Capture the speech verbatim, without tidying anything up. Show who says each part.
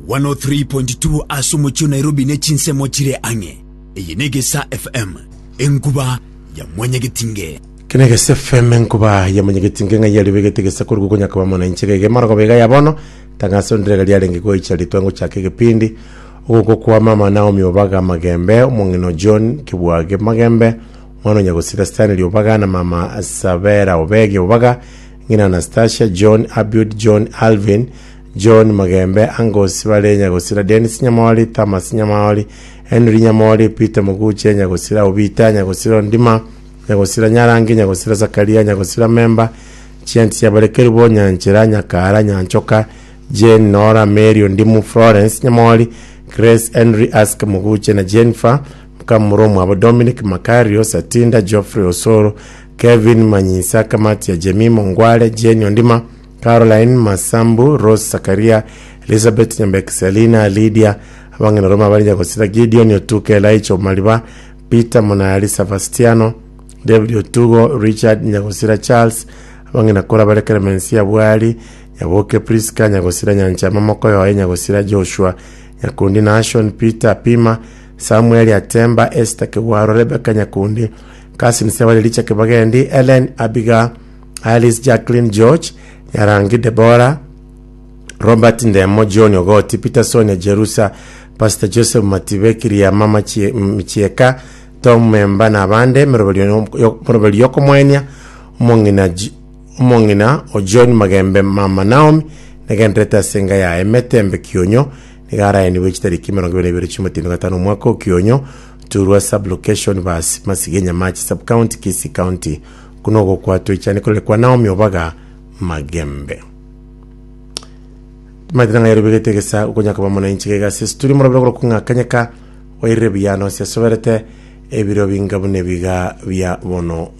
Speaker 1: one oh three point two ase omochie o Nairobi ne chinsemo chire ang'e. Eye ne Egesa F M, enkuba ya mwanyagetinge.
Speaker 2: Kene Gese F M, enkuba ya mwanyagetinge. Ng'a yaribegete gesa korwa konya koba mona inche gege marogo bega ya bono tangaso ndirega riarenge goicha ritwa ngochaka egepindi ogoko kwa mama Naomi Obaga Magembe, omong'ino John Kibwage Magembe, omwana onyagosira Stanley Obaga na mama Sabera Obege Obaga, ng'ina Anastasia John, Abiud John, Alvin John Magembe, angosi bare nyagosira Dennis Nyamori, Thomas Nyamori, Henry Nyamori, Peter Muguche, nyagosira Obita, nyagosira Ndima, nyagosira Nyarangi, nyagosira Zakaria, nyagosira Memba Chianti, yabarekeru Nyanchera, Nyakara, Nyanchoka, Jane, Nora, Mary Ondimu, Florence Nyamori, Grace, Henry, Ask Muguche na Jennifer Mukamuro abo, Dominic Makario, Satinda, Geoffrey Osoro, Kevin Manyisa, Kamati ya Jemimo Ngwale, Jane Ondima, Caroline Masambu, Rose Sakaria, Elizabeth Nyambek, Selina Lydia, abang'ina Roma bari nyagosira Gideon Otuke, Elaicho Mariba, Peter Monali, Sebastiano David Otugo, Richard, nyagosira Charles, abang'ina kora bare Clemencia Bwari, Nyaboke Priska, nyagosira Nyanchama Mokoyoe, nyagosira Joshua Nyakundi, Nashon Peter Pima, Samuel Atemba, Esther Kewaro, Rebecca Nyakundi, Kasin Sebale, Licha Kibagendi, Ellen Abiga, Alice Jacqueline, George Nyarangi, Debora Robert Ndemo, John Ogoti, Peterson Jerusa, Pastor Joseph Matibe, Kiriama Michieka, Tom Memba na abande. Moroberi yokomwenia omong'ina J- omong'ina o John Magembe, mama Naomi, negenderete ase enga yaye Metembe Kionyo. Nigo araeniwe chitariki mirongo ibere na ibere chi'omotienyi gatano omwaka o Kionyo Turwa sublocation bas Masige Nyamachi sub county, Kisii County. Kuno gokwatwa ichane korekwa Naomi Obaga Magembe. Maitira ng'a yarobegete gesa okonyaka ba mwananchi gega ase studio morobere korokwa ng'akanyeka wairire biyano ase asoberete ebiro binga buna ebiga bia bono.